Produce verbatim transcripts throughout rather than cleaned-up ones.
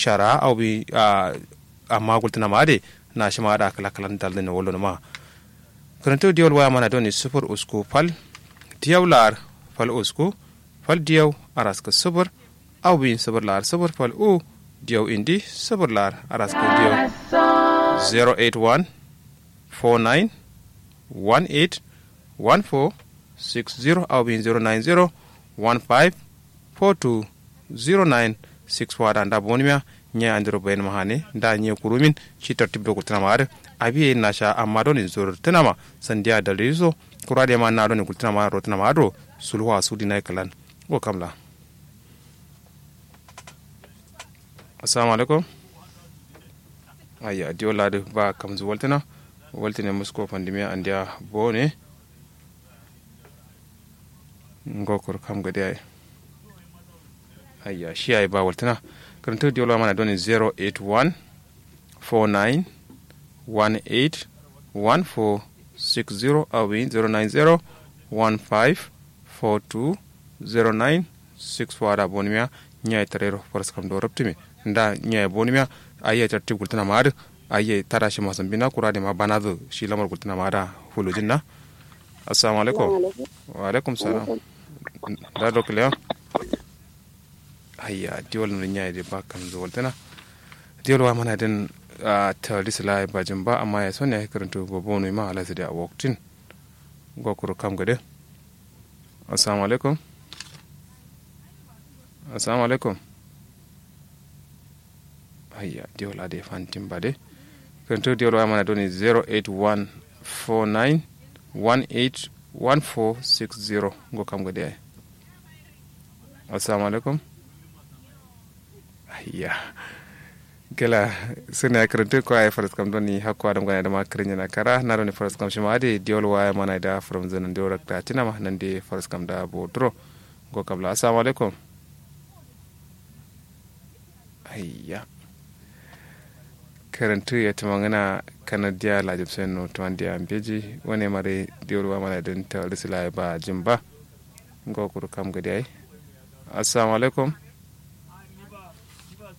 Shara aw bi a amma gultǝna ma adǝ. Na shima adǝ a kǝla kǝlan daldǝne wallo nǝma. Kǝrǝntǝ diyol waya mana doni sufur usku fal diyau la'ar fal usku fal diyau araskǝ sufur aw bi sufur la'ar sufur fal u diyau indi sufur la'ar araskǝ diyau. Zero eight one four nine one eight one four six zero aw bi zero nine zero one five four two zero nine six four adǝ nda bonimiya. Nyi andiro bayin mahane nda nyi kurumin shi tartib do gultǝna ma adǝ. Abiye nasha amma doni zoro tǝna ma sandiya dalili so kura de ma na doni gultǝna ma ro tǝna ma adǝ. Sulwa sudi nayi kǝlan. Go kamla. Assalamu alaikum. Ayya diyo ladǝ ba kamzǝ waltǝna waltǝne musko fandimiya andiya bone. Ngo kuru kam gade yayi. Ayya shi yayi ba waltǝna. Kǝrǝntǝ diyo la mana doni zero eight one four nine one eight one four six zero awi zero nine zero one five four two zero nine six four adǝ a bonimiya. Nyi yayi tarero faraskam do rubtǝme nda nyi yayi bonimiya. Ayya tartib gultǝna ma adǝ. Ayya tada shi masambina kura de ma banazǝ shi lamar gultǝna ma adǝ. Fulujin na. Assalamu alaikum. Wa alaikum salam. Da dokliya. Ayya diwol nǝ nyi yayi de ba kamzǝ waltǝna. Diwol wa mana din. Tawaldi sǝla yayi bajin ba amma yayi son yayi kǝrǝntǝ bobo nui ma alasǝ de a waktin. Ngo kuru kam gade. Assalamu alaikum. Assalamu alaikum. Ayya diwol adǝ ye fantin ba de. Kǝrǝntǝ diwol waya mana doni zero eight one four nine one eight one four six zero. Ngo kam gade yayi. Assalamu alaikum. Ayya. Gela sǝna yayi kǝrǝntǝ ko yayi faraskam doni hakko adǝm gana dǝma kǝrǝnyi na kara na doni faraskam shima adǝ ye diwol waya mana da fǝrǝmzǝ nandi wura kǝratina ma nandi faraskam da boduro. Ngo kamla assalamu alaikum. Ayya. Kǝrǝntǝ ye tǝmangǝna kanadiya lajim seno tǝmandiya mbeji wane mare diwol waya mana dǝn tawaldi sǝla yayi ba jin ba. Ngo kuru kam gade yayi. Assalamu alaikum.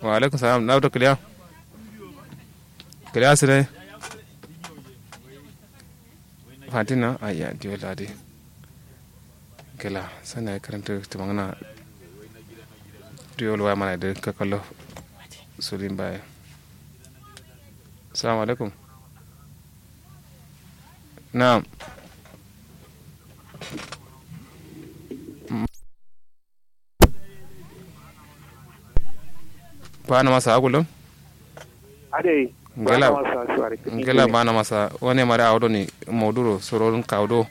Wa alaikum salam na wuto kǝliya. Kǝliya sǝdai. Fatina ayya diwol adǝ. Gela sǝna yayi kǝrǝntǝ tǝmangǝna. Diwol waya mana dǝ kakallo. Sudin baye. Assalamu alaikum. Naam. Bana masa agulum. Adai. Ngela. Bana masa suwari kini ngela bana masa wane mare awo doni. Moduro sororun kawo do.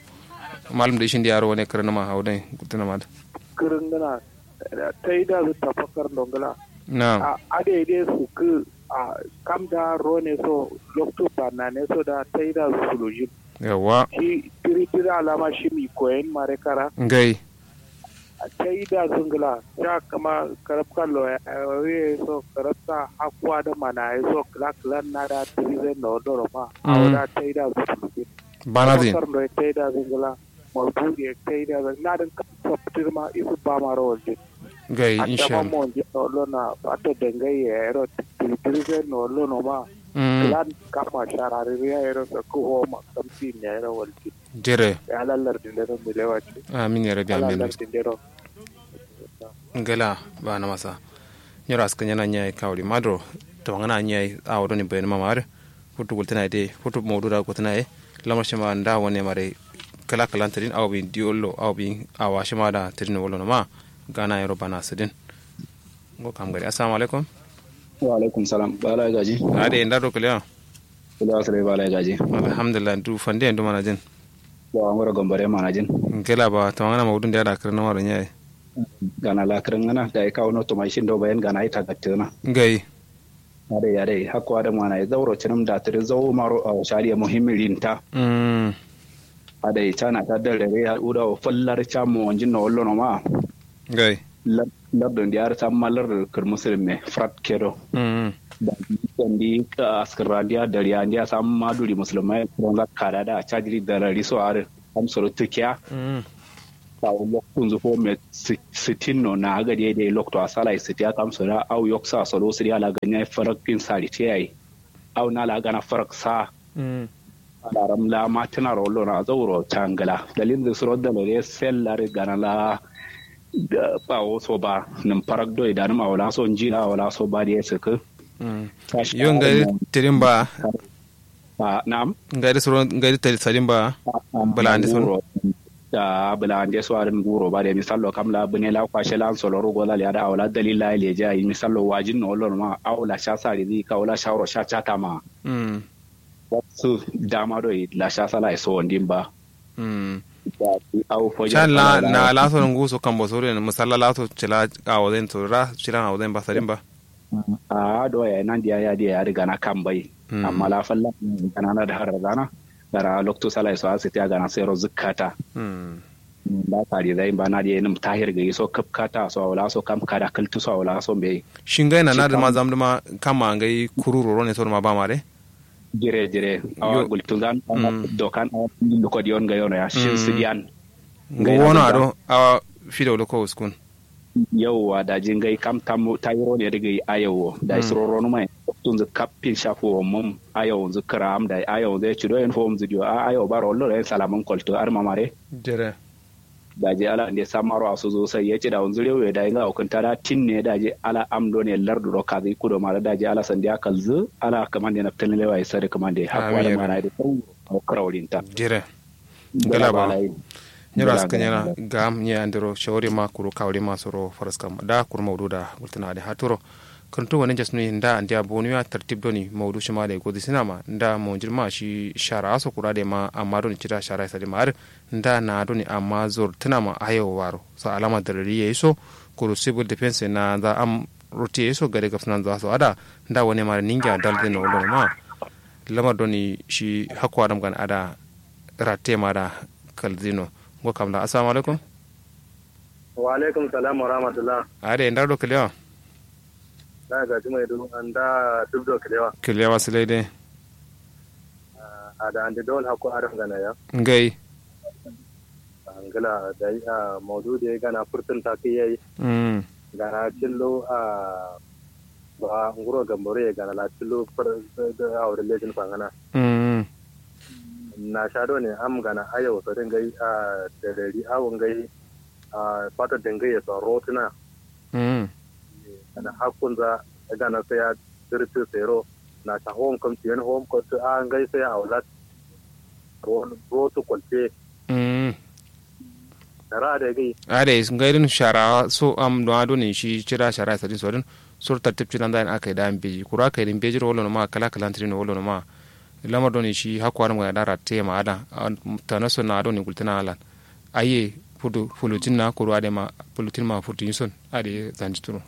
Malum da ishin diyaro wane kare nama awo doni gutuna mad. Kare ngana. Taida zu tafakar dongla. Na. Adai dai su ku. Kam da rone so loktu banna ne so da taida zu sulujin. Yawa. Shi tiri tiri alama shi mi koyen mare kara. Ngai. Taida zǝngla sha kǝma karabka loya ye so karabka hakkuwa dǝ mana ye so kǝla kǝlan na da tǝrizai nowalloro ma. Awo da taida zǝngla. Bana zǝ. Karabka loya taida zǝngla. Maudu'i ye taida zǝngla na dǝn kam sabtǝ dǝ ma isu ba maro waljin. Gai insha Allah. Mo nji nowallo na fato dangai ye yero tǝrizai nowallo no ma. Kǝlan kamma shararri ya yero sakkǝ homa kamsi ne yero waljin. Jere. Amin ya rabi amin. Ngela bana masa. Nyiro askǝ nyana nyayi kawuri maduro. Tawangana nyayi awo doni bayan mama adǝ. Futu gultǝna ye de futu maudu da gultǝna ye. Lamar shima nda wane mare. Kǝla kǝlan tǝdin awo bin diyollo awo bin awa shima da tǝdin wallo noma. Gana yero bana sǝdin. Ngo kam gari assalamu alaikum. Wa alaikum salam bala gaji. Ade nda do kǝliya. Kǝliya sǝle bala gaji. Alhamdulillah du fande ndu manajin. Ba ngoro gambare manajin. Ngela ba tawangana maudu nda da kǝrǝn maro nyayi. Gana la kǝrǝn ngana da ika wono tuma ishin do bayan gana ita gattena. Ngai. Adai adai hakko adǝ mana ye zauro cǝnǝm da tǝdǝ zau maro awo shariya muhimmi rinta. Adai cana ta dare re ya uda wo fallar ca mo wanjin no wallo no ma. Ngai. Lardǝ ndi adǝ samma lardǝ kǝr musulum me frat kedo. Dandi askǝrra ndiya dariya ndiya samma duri musulum ma ye kǝronza kada da cajiri darari so adǝ. Kam soro tǝkiya. Awo loktunzu fo me sittin no na agade dai lokto asala ye sitiya kamso da au yoksa solo siriya la ganya farak pin sari te yayi. Au na la gana farak sa alaram la matina ro lona zauro cangala dalil da suro da lore sel lare gana la. Bawo so ba nim farak doi da nim awo la so njira awo la so ba da ya saka. Yo ngai tirin ba. Na'am. Ngai da suro ngai da tali sadin ba. Bala ande son. Da bala ande so arin guro ba da misallo kam la bune la kwashe lan solo rogo la ya da awo la dalil la leja misallo wajin no lona ma awo la sha sari ni ka wala shawro sha chata ma. Wasu dama doi la sha sala so wandin ba. Can la na la so ngu so kambo so den musalla la so cila awo den so ra cila awo den ba sadin ba. A do ya nan diya ya diya ya riga na kambai. Amma la falla gana na da har gana gara loktu sala so asiti a gana sai ro zukkata. Ba sari zai ba na diya nim tahir ga so kapkata so wala so kam kada kaltu so wala so bai. Shingai na na da ma zam da ma kama ngai kururo ne so ma ba ma dai. Jire jire awa gultun zan dokan awa luko diyon ga yono ya shin su diyan. Ngai wono ado awa fido luko uskun. Yauwa daji ngai kam tayiro ne diga yi ayawo da suro ronu mai. Tun zu kappin shafu wa mum ayawo zu kram da ayawo zu ya cido yin fo mum zu diyo a ayawo baro wallo da yin salaman kolto ar mamare. Jire. Daji ala nde samaro asu zu sai ya cida unzu rewe da inga ukun tada tinne daji ala am do ne lardu do kazi kudo mara daji ala sandiya kalzu ala kamande na tanlewa ya sare kamande hakwa da mana da sauro. Krawlinta. Jire. Ngala ba. Nyiro askanyana gam nye andiro shawari ma kuru kawri ma soro faraskam da kuru maudu da gultana da haturo. Kantu wani jasnu nda andiya bonuya tartib doni maudu shima da gozi sinama nda monjir ma shi shara aso kura da ma amma doni cida shara isa da ma ar nda na doni amma zor tuna ma ayo waro sa alama darari ya iso kuru civil defense na za am roti ya iso gade gafsana za so ada nda wani ma ninga dal dino wala ma. Lamar doni shi hakko adam gan ada ratte ma da kalzino. Ngo kam da assalamu alaikum. Wa alaikum salam wa rahmatullah. Ade ndar do klewa. Da ga jumai du anda duk do klewa klewa silai de. Ada ande dol hakko adam gana ya. Ngai. Angla da maudu de gana furtun ta kai yayi. Gana cillo a ba nguro gambaro ye gana la cillo fur a wurin lejin fangana. Na sha do ne am gana ayo so din gai a da dari awo ngai a fata dingai ya so rotuna. Gana hakkun za gana sai ya dirti sero na sha home kam tiyan home ko a ngai sai a wala. Rotu kwalte. Ra da gai. Ade ngai din shara so am do ado ne shi cira shara sadin so din. Sur tartib cinan da aka da beji kura kai din beji ro wala ma kala kala trin wala ma. Lamar do ne shi hakwa ram ga da ratte ma ada. Tana so na do ne gultana alan. Aye fudu fulutin na kuru ade ma fulutin ma futu yison ade zanji turo.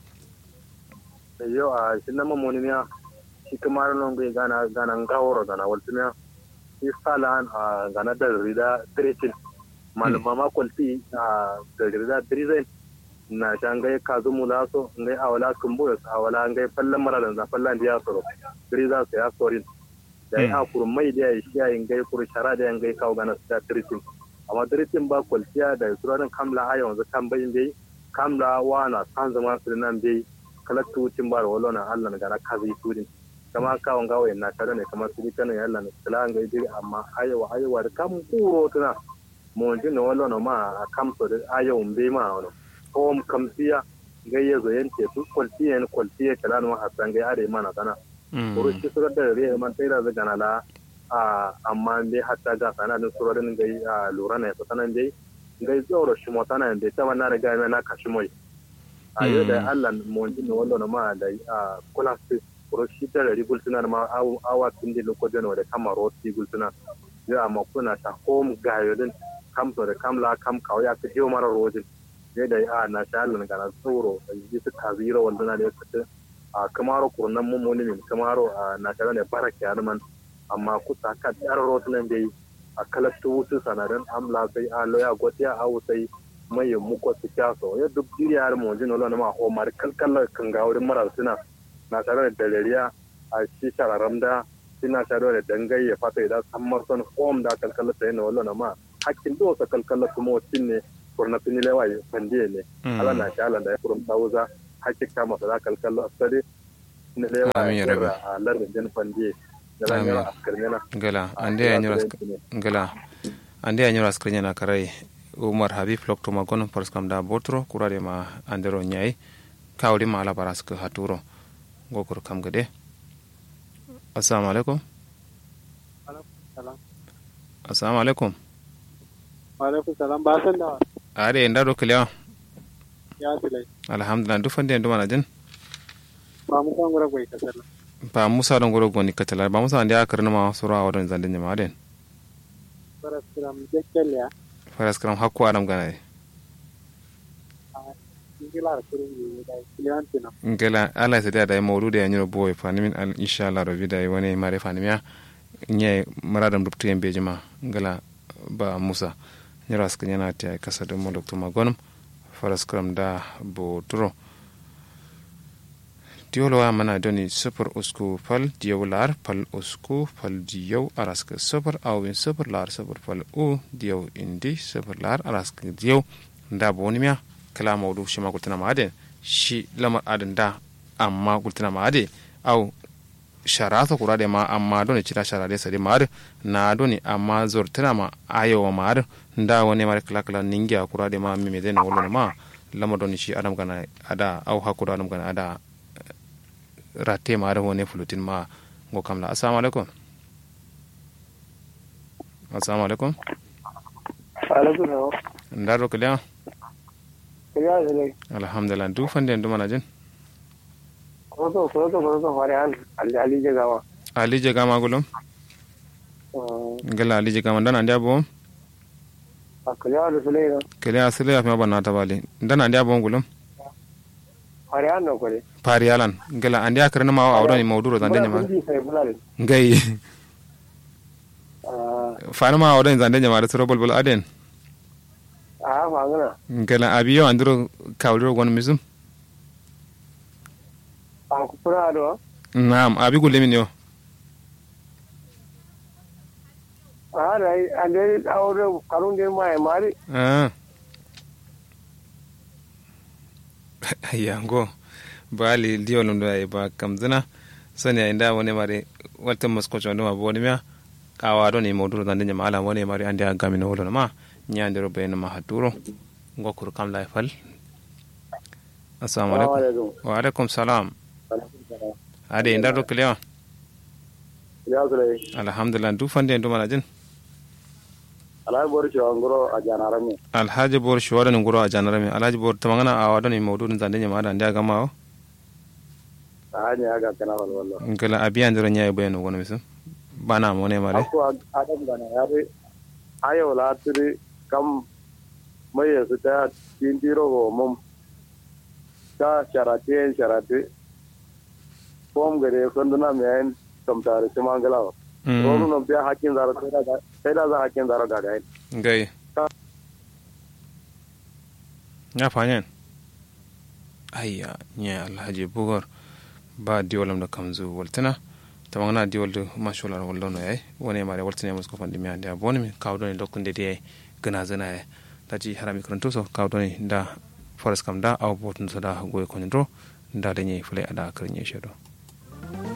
Yo a shi nama monimiya. Shi kuma no ngai gana gana ngaworo gana waltumiya. Shi salan a gana da rida tretin. Malum mama kwalti a da rida drizen. Na sha ngai kazu mulaso ngai awala kumbu awala ngai fallan maradan za fallan diya soro. Driza sai ya sorin. Da ya kuru mai da ya shi ya ngai kuru shara da ya ngai kawo gana su da tretin. Amma tretin ba kwaltiya da suranin kamla ayo wanzu kan bai bai. Kamla wa na san zama su nan bai. Kalattu wucin ba da wallo na allah na gana kazi tudin. Kama kawo ngawo yin na shara ne kamar su dikkanin yalla na kala ngai diri amma ayo ayo da kam kuro tuna. Monji no wallo no ma a kamso de ayo mbe ma wono. Home kamsiya ngai yezo yen tetu kwalti yen kwalti ye kala no hasa ngai ade mana sana. Kuru shi suro da re man taira zaga na la. A amma mbe hatta ga sana din suro din ngai a lura na yasa sana mbe. Ngai zoro shi mo sana mbe ta wannan riga me na kashi moi. Ayo da allah monji no wallo no ma da a kula su. Kuru shi da rari gulsuna ma awa tun da lokacin da kama roti gulsuna. Yo amma kuna ta home gayo din. Kam so da kam la kam kawo ya ka diyo mara rojin. Yo da a na sha allah gana tsoro. Yi su kaziro wanda na da ya fita. A kamaro kurnan mummuni min kamaro a na sha ne barake ya man. Amma kusa ka dar rotunan dai. A kalattu wutu sanadan amla sai a loya gotiya a wusai. Mai yin muko su kyaso ya duk diriya har monji no lona ma home har kalkalla kan ga wurin mara suna. Na sha da dalariya a shi shararam da. Shi na sha da dangai ya fata idan san marson home da kalkalla sai na wallo na ma. Hakkin do sa kalkalla kuma wacin ne. Kuru naftu nyi lewa ye fandiye ne. Ala na sha ala nda ye kurum sawuza. Hakki kama sala kalkallo askadi. Nyi lewa ye. Amin ya rabbi. Lardin din fandiye. Amin. Ngla ande ya nyiro askar nyana karai. Umar habib loktu ma gonum faras kam da boturo kura de ma andero nyai. Kawri ma ala baras ku haturo. Ngo kuru kam gade. Assalamu alaikum. Assalamu alaikum. Wa alaikum salam ba san dawa. Are nda do kiliya. Ya silai. Alhamdulillah duk fande ndu mana jin. Ba musa ngoro goni katala. Ba musa do ngoro goni katala ba musa nda ya karni ma sura wa don zande nyama den. Faras kiram jekkeliya. Faras kiram hakku adam gana. Ngla ala sadiya dayi maudu de ya nyiro boye fanimin inshallah rabbi dayi wane mare fanimiya. Nye muradam dubtu yambe jima. Ngla ba musa. Nyiro askanyana tiya kasa dum loktu ma gonum. Faras kiram da boturo. Diyol waya mana doni sufur usku fal diyau lar fal usku fal diyau araska sufur awin sufur lar sufur fal u diyau indi sufur lar araska diyau. Nda boni miya kla maudu shima gultuna ma adin. Shi lamar adin da amma gultuna ma adin. Au shara so kura de ma amma doni cida shara de sadi ma adin. Na doni amma zortuna ma ayo ma adin. Nda wane mari kla kla ningiya kura de ma mime de no wolo ma. Lamar doni shi adam gana ada au hakku do adam gana ada. Ratte ma adin wane fulutin ma. Ngo kamla assalamu alaikum. Assalamu alaikum. Alaikum salam. Ndaro kiliya. Kiliya sile. Alhamdulillah du fande ndu mana jin. Koso koso koso fare an. Ali ali je gama. Ali je gama gulum. Ngala ali je gama ndana ndia bo. Kiliya du sile. Kiliya sile ya fima banna tabali ndana ndia bo gulum. Fariyalan ngela andi akirni ma awo doni mauduro zande nyima. Ngai. Fani ma awo doni zande nyima da suro bulbul aden. Ngela abi yo andiro kawdiro gon misum. Na'am abi gulle min yo. Aa dai ande awo do karun din maye mari. Ayya ngo. Ba ali diyo lum do yayi ba kamzina. Soni yayi nda wone mari. Waltin musko condo ma boni miya. Awa doni maudu do zande nyima ala wone mari ande agami no wolo ma. Nya ndiro bayani ma haturo. Ngo kuru kam layi fal. Assalamu alaikum. Wa alaikum salam. Ade ndar do kilewa. Alhamdulillah du fande ndu mana jin. Alhaji bor shiwa nguro a janarami. Alhaji bor shiwa doni nguro a janarami alhaji bor tamangana awa doni maudu din zande nyima ada ndia gama wo. Ahani aga kana walwallo. Ngala abiya ndiro nyayi bayani gono misu. Bana mone mare. Ako adam gana yare. Ayo la tiri kam. Mai yasu ta tintiro go mum. Ta sharati en sharati. Fom gade sanduna me ayin. Kamtare shima nglawo. Ronu nom biya hakkin zaro. Sai da za hakkin zaro gagayin. Ngai. Nya fanyen. Ayya nya alhaji bugor. Ba diwal am da kamzu waltina. Tamangana diwal du mashular wallono yayi wone mare waltina musko fandimiya ndia bonimi kawo doni lokkunde diye. Gana zana yayi. Daji harami karantuso kawo doni nda. Faras kam da awo botun so da goye konyen ro. Nda da nyayi fule ada karin yayi shedo.